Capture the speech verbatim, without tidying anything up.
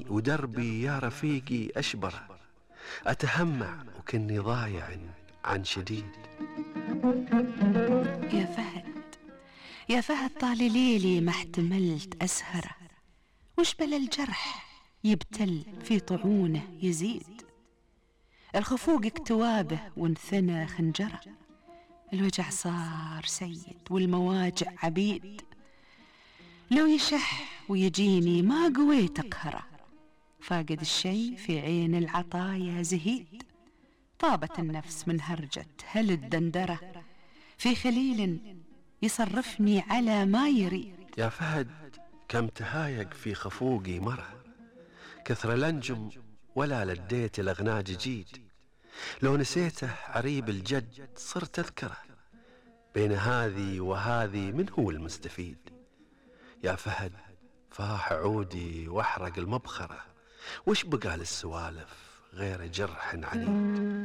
ودربي يا رفيقي أشبره، أتهمع وكني ضايع عن شديد. يا فهد يا فهد طال ليلي ما احتملت أسهره، وش بلا الجرح يبتل في طعونه يزيد، الخفوق اكتوابه وانثنى خنجره، الوجع صار سيد والمواجع عبيد، لو يشح ويجيني ما قويت أقهره، فاقد الشي في عين العطايا زهيد، طابت النفس من هرجة هل الدندرة، في خليل يصرفني على ما يريد. يا فهد كم تهايق في خفوقي مره، كثر الأنجم ولا لديت الأغناج جيد، لو نسيته عريب الجد صرت أذكره، بين هذي وهذي من هو المستفيد. يا فهد فاح عودي واحرق المبخرة، وش بقى للسوالف غير جرح عنيد.